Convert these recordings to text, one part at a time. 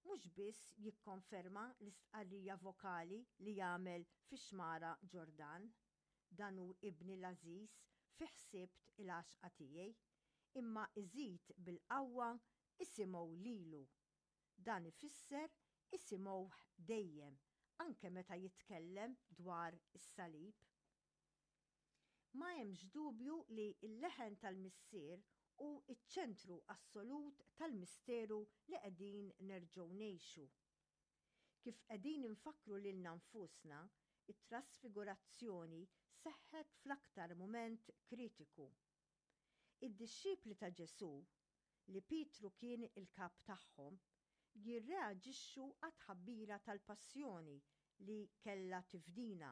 mhux biss jikkonferma l-istqarrija vokali li għamel fix-xmara Ġordan, Dan hu Ibni l-għażiż, fih sibt il-għaxqa tiegħi, imma iżid bil-qawwa isimgħu lilu. Dan ifisser isimgħuh dejjem, anke meta jitkellem dwar is-salib. Ma hemmx dubju li l-leħen tal-Missier hu ċ-ċentru assolut tal-misteru li qegħdin nerġgħu ngħixu. Kif qegħdin infakkru lilna nfusna, it-trasfigurazzjoni seħħet fl-aktar mument kritiku. Id-dixxipli ta' Ġesù, li Pietru kien il-kap tagħhom, jirreaġixxu għat-tħabbira tal-passjoni li kellha tifdina,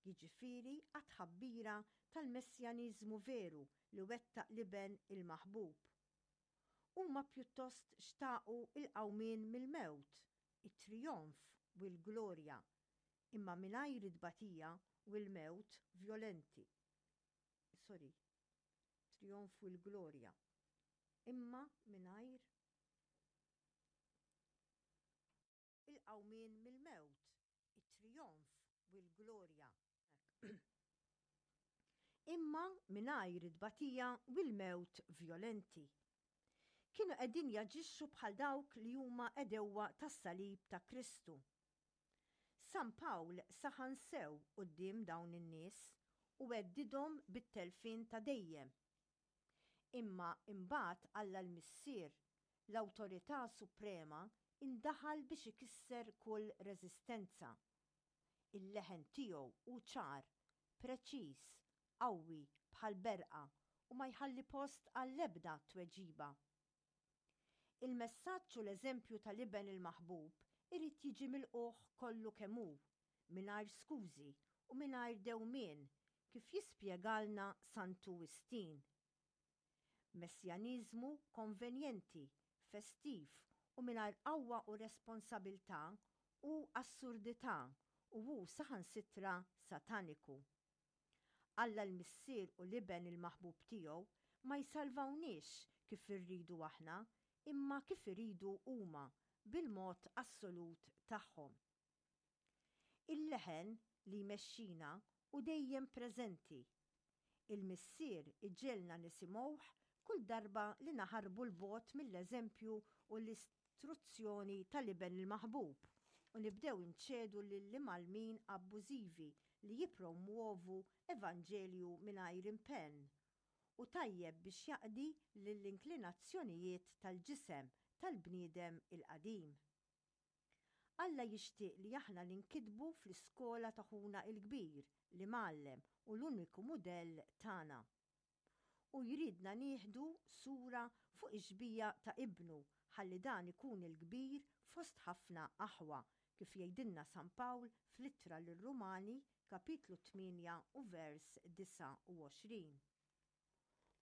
jiġifieri għat-tħabbira tal-messjaniżmu veru li wettaq l-Iben il-maħbub. Huma pjuttost xtaqu l-qawmien mill-mewt, it-trijonf u l-glorja, imma mingħajr it-tbatija u l-mewt vjolenti. Sorry. Trijonf u l-glorja. Imma mingħajr il-qawmien mill-mewt, it-trijonf u l-glorja. Imma mingħajr it-tbatija u l-mewt vjolenti. Kienu qegħdin jaġixxu bħal dawk li huma għedewwa tas-salib ta' Kristu. San Pawl saħan sew quddiem dawn in-nies u heddidhom bit-telfien ta' dejjem. Imma imbagħad Alla l-Missier, l-awtorità suprema, indaħal biex ikisser kull reżistenza. Il-leħen tiegħu hu ċar, preċiż, qawwi bħal berqa u ma jħalli post għall-ebda tweġiba. Il-messaġġ u l-eżempju tal-Iben il-Maħbub irid jiġi milqugħ kollu kemm hu, mingħajr skużi u mingħajr dewmien, kif jispjegalna Santu Wistin. Messjaniżmu konvenjenti, festiv u mingħajr qawwa u responsabilità hu assurdità u hu saħansitra sataniku. Alla l-Missier u l-Iben il-maħbub tiegħu ma jsalvawniex kif irridu aħna, imma kif iridu huma, bil-mod assolut tagħhom. Il-leħen li jmexxina hu dejjem preżenti. Il-Missier iġegħelna nisimgħuh kull darba li naħarbu 'l bogħod mill-eżempju u l-istruzzjoni tal-Iben il-maħbub u nibdew inċedu lill-imgħallmin abbużivi li jippromwovu evanġelju mingħajr impenn u tajjeb biex jaqdi lill-inklinazzjonijiet tal-ġisem tal-bniedem il-qadim. Alla jixtieq li aħna ninkitbu fl-iskola ta' Ħuna l-Kbir, l-Imgħallem u l-uniku mudell tagħna. Hu jridna nieħdu sura fuq ix-xbieha ta' Ibnu ħalli dan ikun il-kbir fost ħafna aħwa, kif jgħidilna San Pawl fl-Ittra lir-Rumani, kapitlu 8 u vers 29.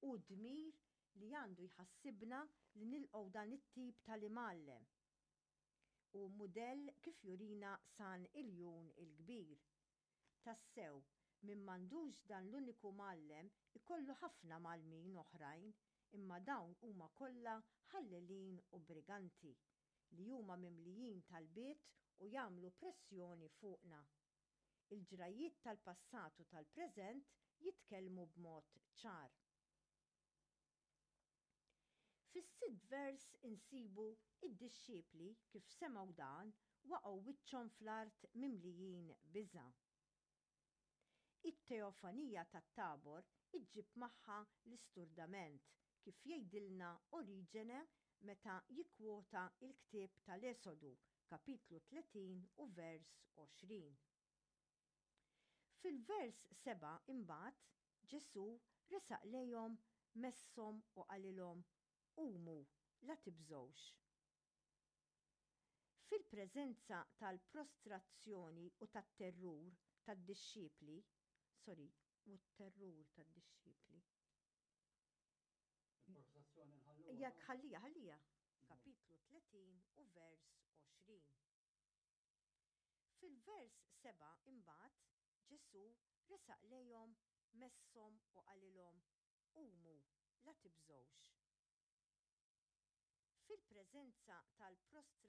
Hu dmir li għandu jħassibna li nilqgħu dan it-tip tal-imgħallem u mudell kif jurina San Iljun il-Kbir. Tassew, min m'għandux dan l-uniku mgħallem ikollu ħafna mgħallmin oħrajn, imma dawn huma kollha ħallelin u briganti, li huma mimlijin talbiet u jagħmlu pressjoni fuqna. Il-ġrajjiet tal-passat u tal-preżent jitkellmu b'mod ċar. Fis-sitt vers insibu id-dixxipli kif semgħu dan waqgħu wiċċhom fl-art mimlijin biża'. It-teofanija tat-Tabor iġġib magħha l-isturdament kif jgħidilna Oriġene meta jikkwota l-ktieb tal-Esodu, kapitlu 30 u vers 20. Fil-vers 7 imbagħad Ġesù resaq lejhom, messhom u qalilhom, Qumu, la tibżgħux. Fil-preżenza tal-prostrazzjoni u tat-terrur tad-dixxipli, sorry, u t-terrur tad-dixxipli. Il-prostrazzjoni nħalluha. Jekk ħallija, ħallija. Kapitlu 30 u vers 20. Fil-vers 7 imbagħad Ġesù resaq lejhom, messhom u qalilhom, Qumu, la tibżgħux. Fil-preżenza tal-prostrazzjoni.